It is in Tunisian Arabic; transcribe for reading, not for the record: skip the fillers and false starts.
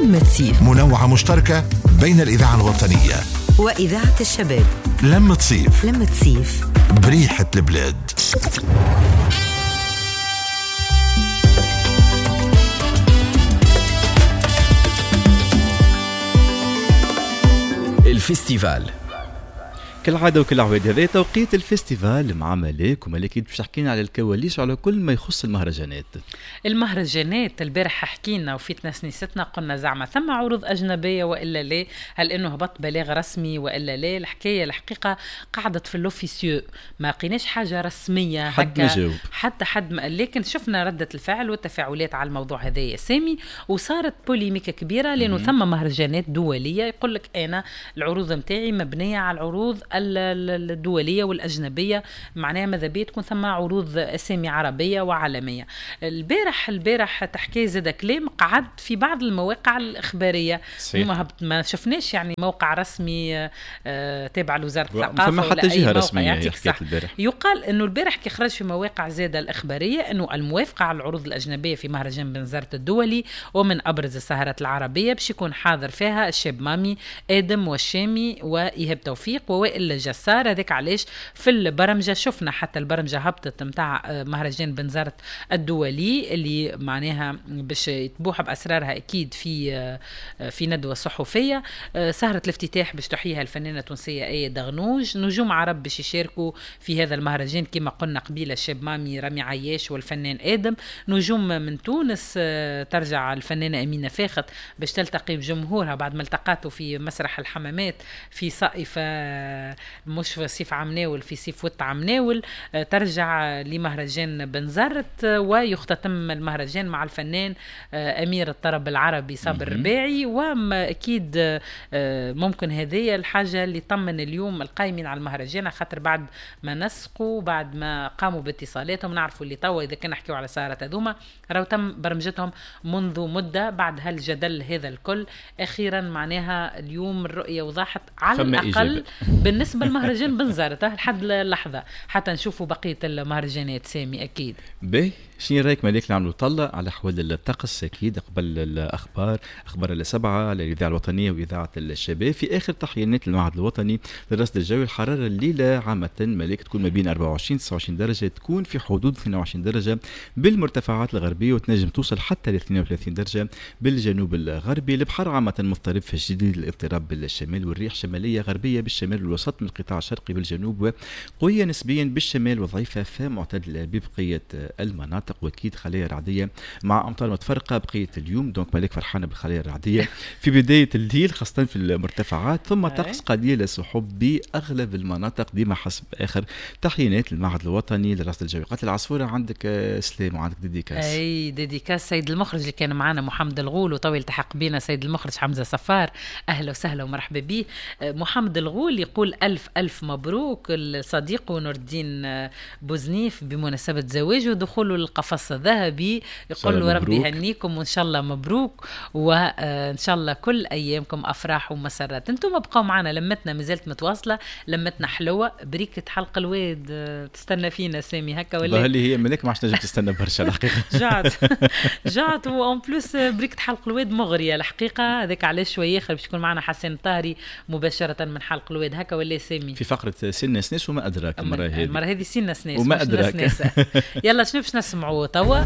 لمة صيف، منوعة مشتركة بين الإذاعة الوطنية وإذاعة الشباب. لمة صيف، لمة صيف بريحة البلاد. ال festival كالعادة وكل عواد هذا توقيت ال festival مع ملاك، وملاك باش تحكينا على الكواليس وعلى كل ما يخص المهرجانات. المهرجانات البارح حكينا وفي تنسنيستنا قلنا زعما ثم عروض أجنبية وإلا لا، هل إنه هبط بلاغ رسمي وإلا لا؟ الحكاية الحقيقة قعدت في l'officieux، ما لقيناش حاجة رسمية حد ما جاوب، حتى حد ما، لكن شفنا ردة الفعل والتفاعلات على الموضوع هذا يا سامي، وصارت polémique كبيرة لأنه ثم مهرجانات دولية يقول لك أنا العروض متاعي مبنية على العروض الدولية والأجنبية، معناها ماذا بيا تكون ثم عروض أسامي عربية وعالمية. البارح تحكي زاد كلام قعد في بعض المواقع الإخبارية، ما شفناش يعني موقع رسمي تابع لوزارة الثقافة فما حتى جهة رسمية حكيت البارح. يقال أنه البارح كي خرج في مواقع زاد الإخبارية أنه الموافقة على العروض الأجنبية في مهرجان بنزرت الدولي ومن أبرز السهرات العربية باش يكون حاضر فيها الشاب مامي، آدم والشامي، وإيهاب توفيق، ووائل الجسار. هذاك علاش في البرمجة شفنا حتى البرمجة هبطت متاع مهرجان بنزرت الدولي اللي معناها باش يتبوح بأسرارها أكيد في ندوة صحفية. سهرة الافتتاح باش تحييها الفنانة التونسية آية دغنوج، نجوم عرب باش يشاركوا في هذا المهرجان كما قلنا قبيلة الشاب مامي، رامي عياش، والفنان آدم. نجوم من تونس ترجع الفنانة أمينة فاخت باش تلتقي بجمهورها بعد ما التقاته في مسرح الحمامات في صائفة، مش في صيف عمناول، في صيف وط عمناول. ترجع لمهرجان بنزرت ويختتم المهرجان مع الفنان أمير الطرب العربي صابر الرباعي. وأكيد ممكن هذه الحاجة اللي طمن اليوم القايمين على المهرجان، خاطر بعد ما نسقوا بعد ما قاموا باتصالاتهم نعرفوا اللي توا إذا كنا نحكيو على سهرة هذوما راهو تم برمجتهم منذ مدة بعد هالجدل هذا الكل. أخيرا معناها اليوم الرؤية وضحت على الأقل بالنسبة لمهرجان بنزرت لحد اللحظة، حتى نشوفوا بقية المهرجانات سامي أكيد. باهي، شنو رايك مالك نعملوا طلة على أحوال الطقس أكيد قبل الأخبار، أخبار السبعة على الإذاعة الوطنية وإذاعة الشباب. في آخر تحيينات المعهد الوطني للرصد الجوي، الحرارة الليلة عامة مالك تكون ما بين 24 29 درجة، تكون في حدود 22 درجة بالمرتفعات الغربية، وتنجم توصل حتى ل 32 درجة بالجنوب الغربي. البحر عامة مضطرب في شديد الاضطراب بالشمال، والريح شمالية غربية بالشمال والوسط من القطاع الشرقي بالجنوب، وقوية نسبيا بالشمال وضعيفة فمعتدلة ببقية المناطق، واكيد خلايا رعدية مع امطار متفرقة بقية اليوم. donc مالك فرحانة بالخلايا الرعدية في بداية الليل خاصة في المرتفعات، ثم طقس قليل السحب بأغلب المناطق ديما حسب آخر تحيينات المعهد الوطني للرصد الجوي. قالت العصفورة عندك سلام وعندك dédicace. اي dédicace سيد المخرج اللي كان معنا محمد الغول، وطويل التحق بنا سيد المخرج حمزة صفار، اهلا وسهلا ومرحبا به. محمد الغول يقول ألف ألف مبروك لصديقه نور الدين بوزنيف بمناسبة زواجه ودخوله للقفص الذهبي، يقول له ربي يهنيكم وإن شاء الله مبروك، وإن شاء الله كل أيامكم أفراح ومسرات. أنتم بقوا معنا، لمتنا مازالت متواصلة، لمتنا حلوة، بريكة حلق الواد تستنى فينا سامي هكا ولا؟ اللي هي ملك ما عادش نجم تستنى برشا الحقيقة. جعت جعت، و en plus بريكة حلق الواد مغرية الحقيقة، هذاك علاش شوية آخر باش يكون معنا حسين الطاهري مباشرة من حلق الواد هكا ولا سامي؟ في فقرة سنة سناس وما أدراك المرة هذه. المرة هذه سنة سناس وما أدراك. يلا شنو باش نسمعوا توا؟